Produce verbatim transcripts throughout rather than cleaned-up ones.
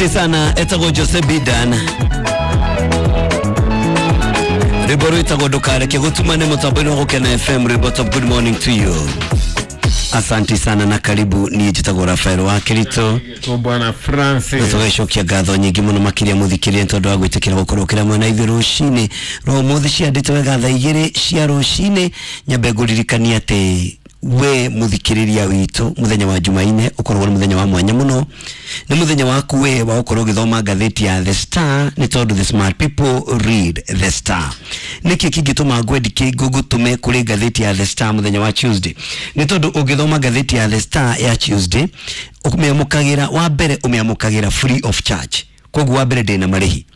Asante sana etagwo Jose Bidan rwimbo rwitagwo ndukareke gutumane mutambo-inĩ wa Gũkena F M rwimbo top. Good morning to you. Asante sana na karibu. Niĩ njĩtagwo Rafael wa Kirito Bwana Francis. Tũgacokia ngatho nyingĩ mũno makĩria mũthikĩrĩria tondũ wa gwĩtĩkĩra gũkorwo kĩra mwena ithuĩ rũcinĩ rwa ũmũthĩ ciandĩtwo wega thaa igĩrĩ cia rũcinĩ. Nyambe ngũririkanie atĩ we muthikiriria witu muthenya wa Jumaine ukorwo ni muthenya wa mwanya muno, ni muthenya waku we wa ukorwo ugithoma ngatheti ya The Star, ni tondu the smart people read The Star. Niki kingituma ngwendike ngugutume kuri ngatheti ya The Star muthenya wa Tuesday? Ni tondu ungithoma ngatheti ya The Star ya Tuesday umiamukagira wa mbere umiamukagira free of charge, koguo wa mbere ndina marihi.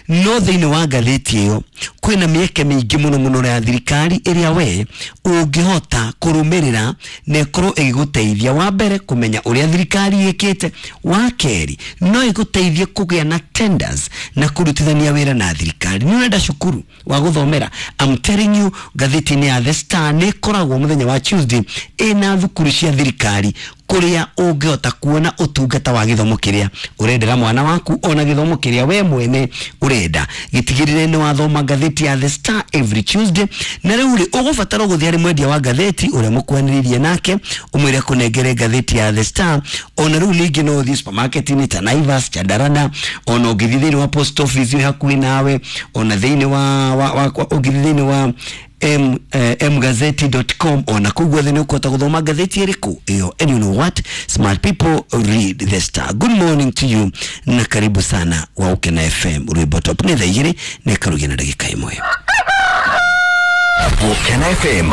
No thĩinĩ wa ngathĩti ĩyo kwĩna mĩeke mĩingĩ mũno mũno ya thirikari ĩrĩa we ũngĩhota kũrũmĩrĩra na ĩkorwo ĩgĩgũteithia wa mbere kũmenya ũrĩa thirikari ĩkĩte, wa kerĩ no ĩgũteithie kũgĩa na tenders na kũrutithania wĩra na thirikari. Nĩ ũrenda cukuru wa gũthomera, I'm telling you, ngathĩti-inĩ ya The Star nĩ ĩkoragwo mũthenya wa Tuesday ĩna thukuru cia thirikari kuria ũngĩhota kuona ũtungata wa gĩthomo kĩrĩa ũrendera mwana waku ona gĩthomo kĩrĩa we mwene ũrenda. Gĩtigĩrĩre nĩ wathoma ngathĩti ya The Star every Tuesday. Na rĩu rĩ ũgũbatara gũthiĩ harĩ mwendia wa ngathĩti ũrĩa mũkwanĩrĩirie nake ũmwĩre kũnengere ngathĩti ya The Star. Ona rĩu ningĩ no ũthiĩ supermarket-inĩ ta Naivas, Chandarana, ona ũngĩthiĩ thĩinĩ wa post office wĩ hakuhĩ nawe, ona thĩinĩ wa ũngĩthiĩ thĩinĩ wa m eh, mgazeti dot com, ona kũu guothe nĩ ũkũhota gũthoma ngathĩti ĩrĩkũ ĩyo. And you know what, smart people read The Star. Good morning to you na karibu sana wa Gũkena F M rwimbo top. Nĩ thaa igĩrĩ na ĩkarugia na ndagĩka ĩmwe. Gũkena F M.